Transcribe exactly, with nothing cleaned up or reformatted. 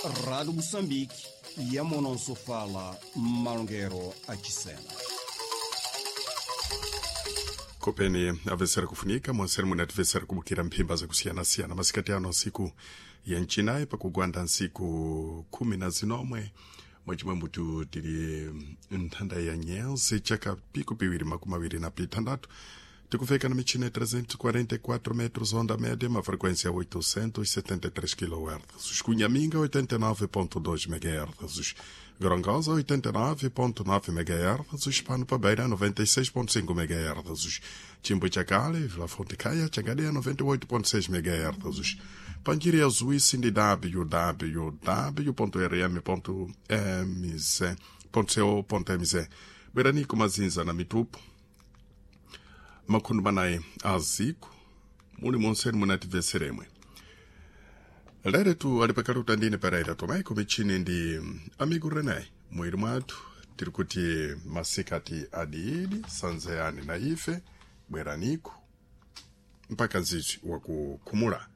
Rádio Moçambique, Yamononso fala Malongero achisena. Kopeni avesera kufunika mwaseri munativesera kubukira mphimba zakusiyana-siyana masikati ano nsiku ya ncinayi pakugwanda nsiku khumi na zinomwe mwacimwe mutu tili nthanda ya nyense chaka pico piwiri makumi awiri na pitandatu tikufika na michina ya trezentos e quarenta e quatro metros onda média, uma frequência oitocentos e setenta e três quilohertz. Cunhaminga oitenta e nove ponto dois megahertz, Gorongosa oitenta e nove ponto nove megahertz, Pano Pabeira noventa e seis ponto cinco megahertz, Chimbo Chacale, Vila Fonte Caia, Changadeia noventa e oito ponto seis megahertz. Panjiria Suíça de w w w ponto r m ponto m z ponto co ponto m z. Beranico Mazinza na Mitupo makhundu manayi aziku muli monseni munativeseremwe leretu ali pakali utandini Pereira Tomé kumichini ndi amigo René mwiri mwathu tiri kuti masikati adiidi sanzeyani na ife bweraniku mpaka nzizwi wakukhumula.